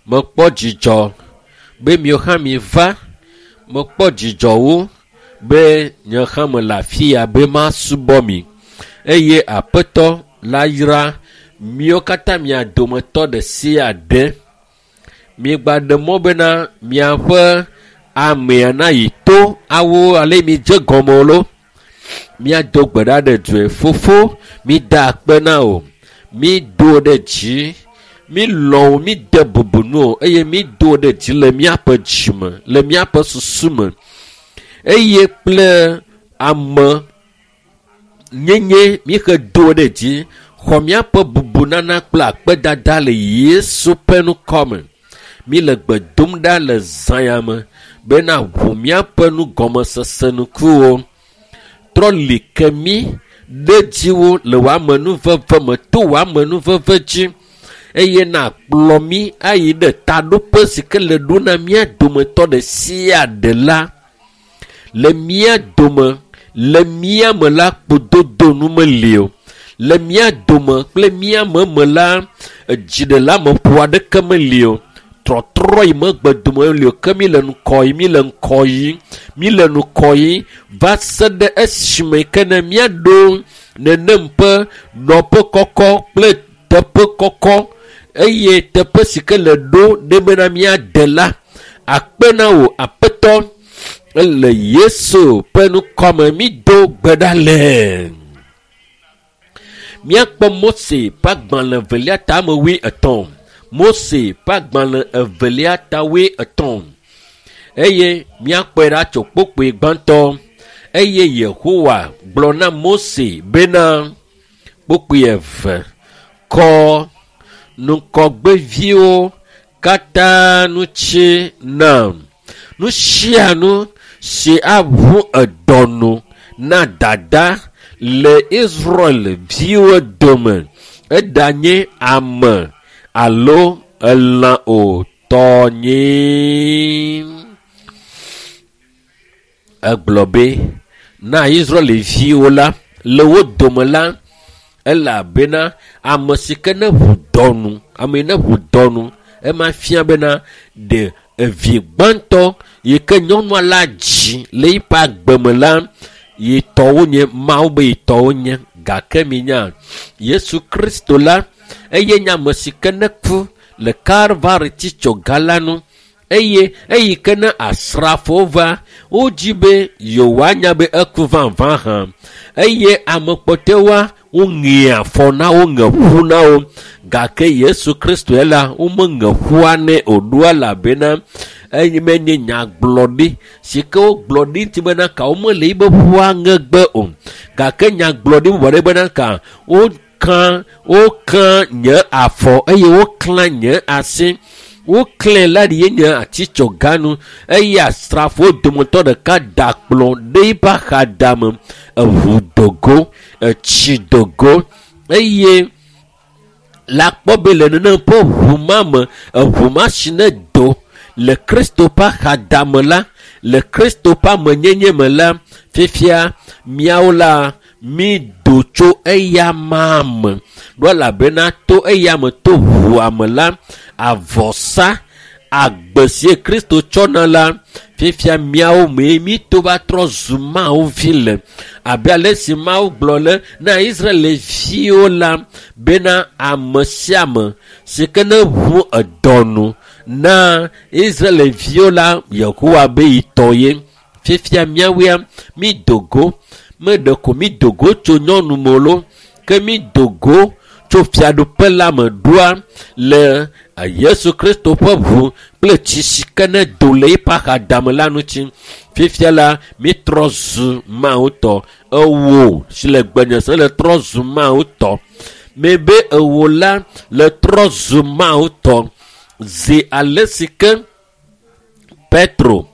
Mekpɔ dzidzɔ be miwo hã miva. Mekpɔ dzidzɔ wu be nye hã mele afi ya be masubɔ mi eye Aƒetɔ la yra miwo katã mia dometɔ ɖe sia ɖe. Miegba ɖe mɔ bena miaƒe amea nayi to awo ale midze gɔme o lo. Míado gbe ɖa ɖe due. Fofo, mida akpe na wò. Mído ɖe dzi. Mílɔ̃ wò, míde bubu nu o eye mído ɖe dzi le míaƒe dzime, le míaƒe susu me eye kple ame nyenye míexe do ɖe dzi xɔ míaƒe bubunana kple akpedada le Yesu ƒe ŋkɔ me. Míle gbe dom ɖa le zã ya me bena ʋu míaƒe nugɔmesese ŋkuwo. Trɔ li ke mí ɖe dziwo le wò amenuveve me to wò amenuveve dzi eye nakplɔ mí ayi ɖe taɖoƒe si ke le ɖo na mía dometɔ ɖe sia ɖe la. Le mía dome, le mía me la, kpododo nu meli o. Le mía dome kple mía me me la, dziɖeleameƒo aɖeke meli o. Trɔtrɔ yi megbe dome meli o ke mí le ŋkɔ yi, mí le ŋkɔ yi, mí le ŋkɔ yi va se ɖe esime ke ne míaɖo nenem ƒe nɔƒe kɔkɔ kple teƒe kɔkɔ eye teƒe si ke le ɖo ɖe bena míade la, akpe na wò Aƒetɔ ele Yesu ƒe ŋkɔme mído gbe ɖa le. Míakpɔ Mose ƒe agbalẽ evelia ta ame 23. Mose ƒe agbalẽ evelia ta 23. Eye míakpɔe ɖa tso kpokpoe gbãtɔ. Eye Yehowa gblɔ na Mose bena kpokpoe eve kɔ ŋgɔgbeviwo katã ŋuti nam. Nu sia nu si aʋu edɔ nu na dada le Israel viwo dome eɖanye ame alo elã o tɔnyee. Egblɔ be na Israelviwo la le wo dome la elabena ame si ke ne ʋu dɔ nu, ame yi ne ʋu dɔ nu ema fia bena ɖe evi gbãtɔ yi ke nyɔnua la dzi le eƒe agbe me la yi tɔwo nye Mawu be yi tɔwo nye gake minya Yesu Kristo la eye nye ame si ke ne ku le Kalvari titsoga la nu eye eyi ke ne asrafowo va wodzi be yewoanya be eku vavã hã eye ame kpɔtɔewoa woŋe afɔ na wo ŋe ƒu na wo gake Yesu Kristo ya la womeŋe ƒua nɛ o ɖo elabena eye menye nyagblɔɖi si ke wogblɔ ɖi ŋuti bena ka womele yibe ƒua ŋegbe o gake nyagblɔɖi bubu aɖe bena ka woka woka nye afɔ eye woklã nye asi. Woklẽ la ɖi ye nye atitsoganu eye asrafowo dometɔ ɖeka da kplɔ ɖe eƒe axadame eʋu dogo etsi dogo eye la kpɔ be le nenem ƒe ʋu ma me eʋu ma si ne do le Kristo ƒe axadame la le Kristo ƒe amenyenye me la fifia miawo la mi do tso eya ma me ɖo elabena to eya me to ʋua me la avɔsa agbe si Kristo tsɔna la fifia miawo mee mi to va trɔ zu Mawu vi le abe ale si Mawu gblɔ le na Israelviwo la bena ame sia ame si ke ne ʋu edɔ nu na Israelviwo la Yehowa be yi tɔ ye fifia miawoea mi do go meɖe ko mi do go tso nyɔnu me lo ke mi do go tso fiaɖuƒe la me ɖoa le Yesu Kristo ƒe ʋu kple tsi si ke ne do le eƒe axadame la ŋuti. Fifia la mitrɔ zu Mawu tɔ. Ewò si le gbenye se le trɔ zu Mawu tɔ. Mebe ewò la le trɔ zu Mawu tɔ. Zi ale si ke Petro,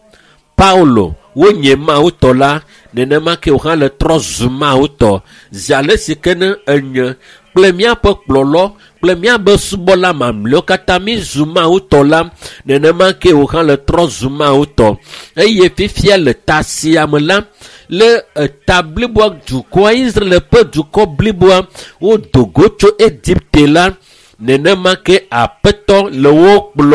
Paulo wonye Mawu tɔ la nenema ke wò hã le trɔ zu Mawu tɔ. Zi ale si ke ne enye kple míaƒe kplɔlɔ kple míaƒe subɔla mamlɛawo katã mi zu Mawu tɔ la nenema ke wò hã le trɔ zu Mawu tɔ. Eye fifia le ta sia me la le eta bliboa dukɔa Israel ƒe dukɔ bliboa wodo go tso Egipte la nenema ke Aƒetɔ le wo kplɔm.